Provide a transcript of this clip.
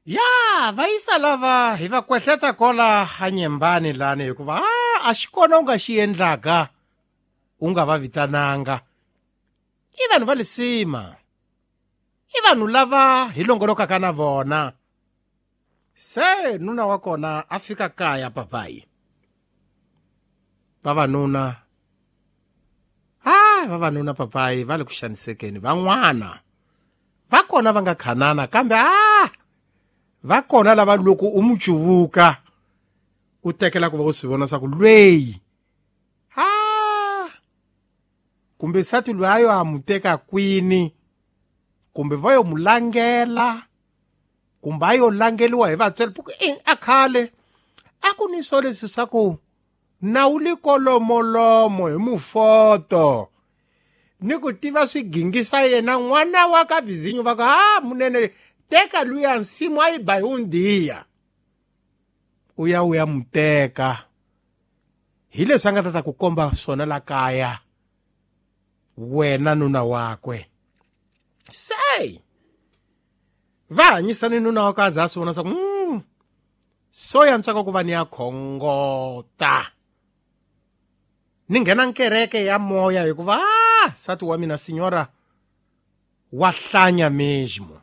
Ya va yisa lava hi va kwehleta kola hanyembani lani, hikuva a xi kona u nga xi endlaka u nga va vitananga. I vanhu va lisima, i vanhu lava hi longolokaka na vona. Se nuna wa kona a fika kaya papayi, vavanuna vavanuna papayi va le ku xanisekeni. Van'wana va kona va nga khanana, kambe va kona lava loko u mu cuvuka u tekela ku va u swi vona swa ku lweyi kumbe nsati loyi a yo a mu teka kwini, kumbe va yo mu langela, kumbe a yo langeliwa hi vatswari. A khale a ku ni swo leswi swa ku nawu li kolomolomo hi mufoto ni ku tiva swigingisa yena n'wana wa ka vizinyo va ku munene teka luya nsimu a yi ba hi undiya, u ya u ya mu teka. Hi leswi a nga ta ta ku komba swona la kaya wena nuna wakwe. Se va hanyisani nuna wa ka a za a swi vona swa ku so ya ntswaka ku va ni ya khongota, ni nghena nkereke ya moya, hikuva nsati wa mina sinyora wa hlanya mesmo.